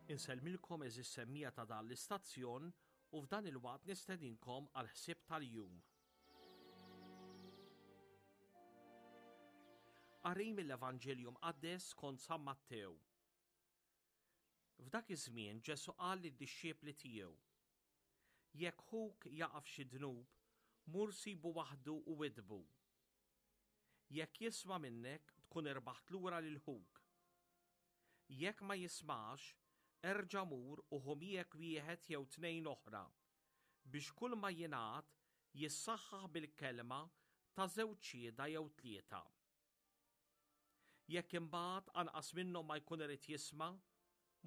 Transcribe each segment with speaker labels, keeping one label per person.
Speaker 1: Insellmilkom eżis semmija ta' dan l-istazzjon u f'dan il-waqt nistedinkom għal ħsieb tal-jum. Qari mill-Evanġelju Mqaddes skont San Mattew. F'dak iż-żmien Ġesù qal lid-dixxipli tiegħu, Jekk ħuk jaqa' f'xi dnub, mur sibu waħdu u widdbu. Jekk jisma' minnek, tkun irbaħt lura lil ħuk. Jekk ma jismax, erġa' mur u ħu miegħek wieħed jew tnejn oħra, biex kulma jingħad jissaħħaħ bil-kelma ta' żewġ xhieda jew tlieta. Jekk imbagħad anqas minnhom ma jkun irid jisma',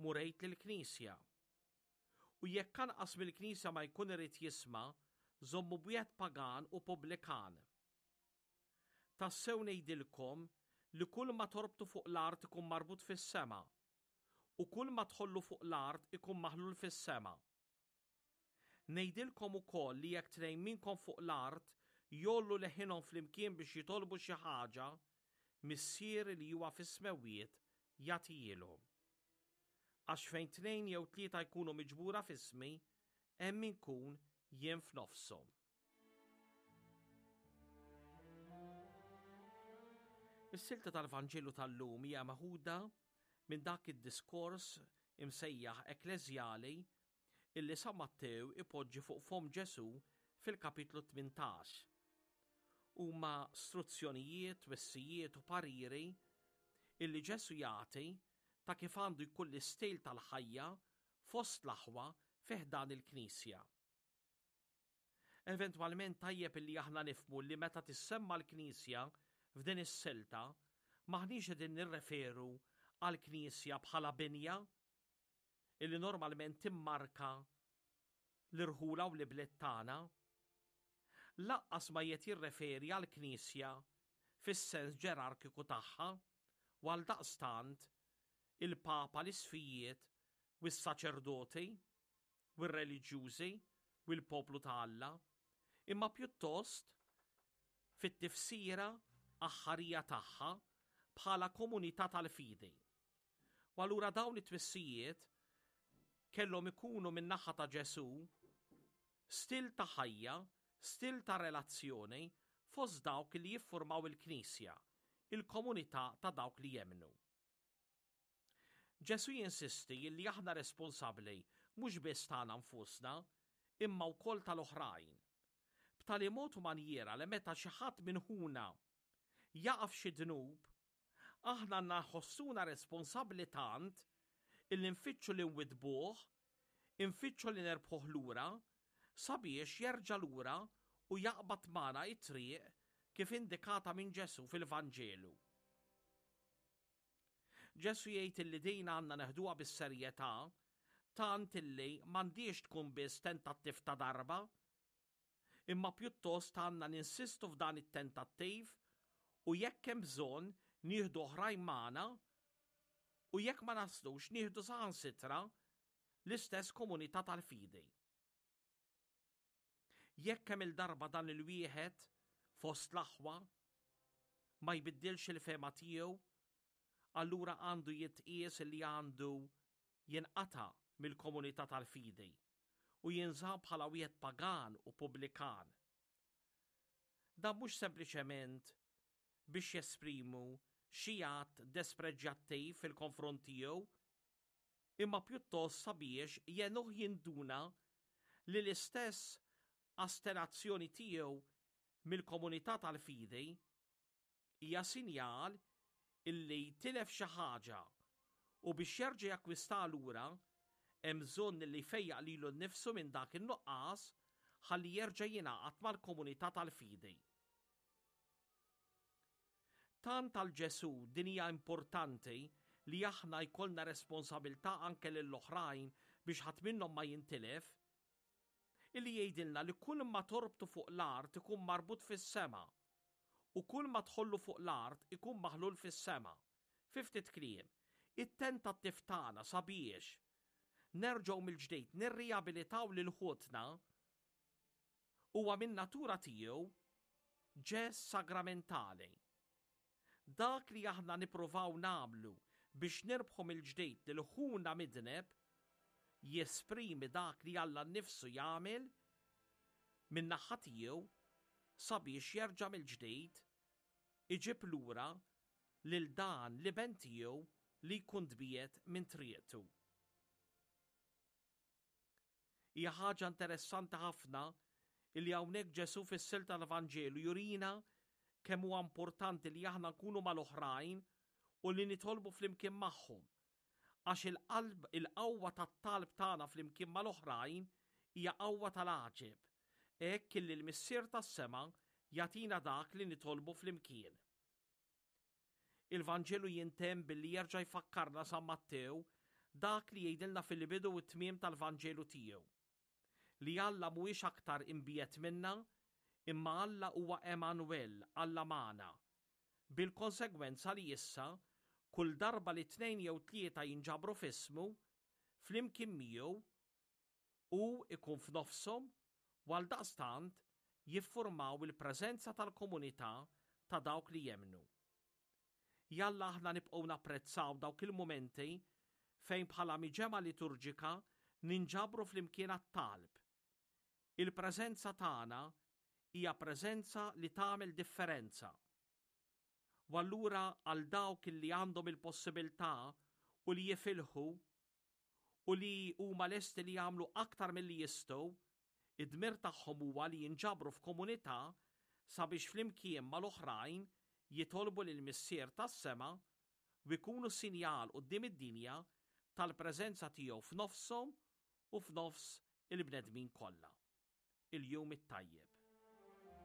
Speaker 1: mur għid lill-knisja. U jekk anqas mill-knisja ma jkun irid jisma', żommu b'wieħed pagan u pubblikan. Tassew ngħidilkom li kull ma torbtu fuq l-art ikun marbut fis-sema, u kull ma tħollu fuq l-art ikun maħlul fis-sema. Ngħidilkom ukoll li jekk tnejn minnkom fuq l-art jgħollu leħinhom flimkien biex jitolbu xi ħaġa, Missieri li huwa fis-smewwiet jagħtihielhom. Għax fejn tnejn jew tlieta jkunu miġbura f'ismi, hemm inkun jien f'nofshom. Is-silta tal-Vanġelu tal-lum hija meħuda minn dak id-diskors imsejjaħ ekkleżjali illi San Mattew ipoġġi fuq fomm Ġesù fil-kapitlu 18. Huma struzzjonijiet, twissijiet u pariri illi Ġesù jagħti ta' kif għandu jkun l-istil tal-ħajja fost l-aħwa fi ħdan il-Knisja. Eventwalment tajjeb illi aħna nifhmu li meta tissemma l-Knisja f'din is-silta, m'aħniex qegħdin nirreferu għall-Knisja bħala binja illi normalment timmarka l-irħula u l-ibliet tagħna. Lanqas ma qiegħed jirreferi għall-Knisja fis-sens ġerarkiku tagħha u għaldaqstant il-Papa, l-Isqfijiet u s-saċerdoti u r-reliġjużi u l-poplu ta' Alla, imma pjuttost fit-tifsira aħħarija tagħha bħala komunità tal-fidi. U allura dawn it-twissijiet kellhom ikunu min-naħa ta' Ġesù stil ta' ħajja, stil ta' relazzjoni fost dawk li jiffurmaw il-Knisja, il-komunità ta' dawk li jemmnu. Ġesù jinsisti li aħna responsabbli mhux biss tagħna nfusna, imma wkoll tal-oħrajn. B'tali mod u manjiera li meta xi ħadd minn ħuna jaqa' f'xi dnub, aħna għandna nħossuna responsabbli tant illi nfittxu li nwiddbuh, infittxu li nerbħuh lura, sabiex jerġa' lura u jaqbad magħna t-triq kif indikata minn Ġesù fil-Vanġelu. Ġesù jgħid illi din għandna neħduha bis-serjetà tant illi m'għandhiex tkun biss tentattiv ta' darba, imma pjuttost għandna ninsistu f'dan it-tentattiv u jekk hemm bżonn nieħdu oħrajn magħna u jekk ma naslux nieħdu saħansitra l-istess komunità tal-fidi. Jekk kemm-il darba dan il-wieħed fost l-aħwa ma jbiddilx il-fehma tiegħu, allura għandu jitqies li għandu jinqata' mill-komunità tal-fidi u jinżamm bħala wieħed pagan u pubblikan. Dan mhux sempliċement biex jesprimu xi att despreġġjattiv fil-konfront tiegħu, imma pjuttost sabiex jgħinuh jinduna li l-istess astenazzjoni tiegħu mill-komunità tal-fidi hija sinjal illi tilef xi ħaġa u biex jerġa' jakkwistaha lura hemm bżonn illi jfejjaq lilu nnifsu minn dak in-nuqqas ħalli jerġa' jingħaqad mal-komunità tal-fidi. Tant għal Ġesù din hija importanti li aħna jkollna responsabilità anke lill-oħrajn biex ħadd minnhom ma jintilef, illi jgħidilna li kull ma torbtu fuq l-art ikun marbut fis-sema u kull ma tħollu fuq l-art ikun maħlul fis-sema. Fi ftit kliem, it-tentattiv tagħna sabiex nerġgħu mill-ġdid nirriabilitaw lil ħutna huwa min-natura tiegħu ġest sagramentali. Dak li aħna nippruvaw nagħmlu biex nirbħu mill-ġdid lil ħuna midneb. jesprimi dak li Alla nnifsu jagħmel min-naħa tiegħu sabiex jerġa' mill-ġdid iġib lura lil dan l-iben tiegħu li jkun tbiegħed minn triqtu. Hija ħaġa interessanti ħafna illi hawnhekk Ġesù fis-silta tal-Vanġelu jurina kemm huwa importanti li aħna nkunu mal-oħrajn u li nitolbu flimkien magħhom. Għax il-qalb il-qawwa tat-talb tagħna flimkien mal-oħrajn hija qawwa tal-għaġeb, hekk illi l-Missier tas-sema jagħtina dak li nitolbu flimkien. Il-Vanġelu jintemm billi jerġa' jfakkarna San Mattew dak li jgħidilna fil-bidu u t-tmiem tal-Vanġelu tiegħu. Li Alla mhuwiex aktar imbiegħed minna, imma Alla huwa Emmanuel, Alla magħna. Bil-konsegwenza li issa, kull darba li tnejn jew tlieta jinġabru f'ismu, flimkien miegħu, Hu jkun f'nofshom u għaldaqstant jiffurmaw il-preżenza tal-komunità ta' dawk li jemmnu. Jalla aħna nibqgħu napprezzaw dawk il-mumenti fejn bħala miġemgħa liturġika ninġabru flimkien għat-talb. Il-preżenza tagħna hija preżenza li tagħmel differenza. U allura għal dawk li għandhom il-possibilità u li jifilħu u li huma lesti li jagħmlu aktar milli jistgħu, id-dmir tagħhom huwa li jinġabru f'komunità sabiex flimkien mal-oħrajn jitolbu lill-Missier tas-sema u jkunu sinjal quddiem id-dinja tal-preżenza tiegħu f'nofshom u f'nofs il-bnedmin kollha. Il-Jum it-Tajjeb.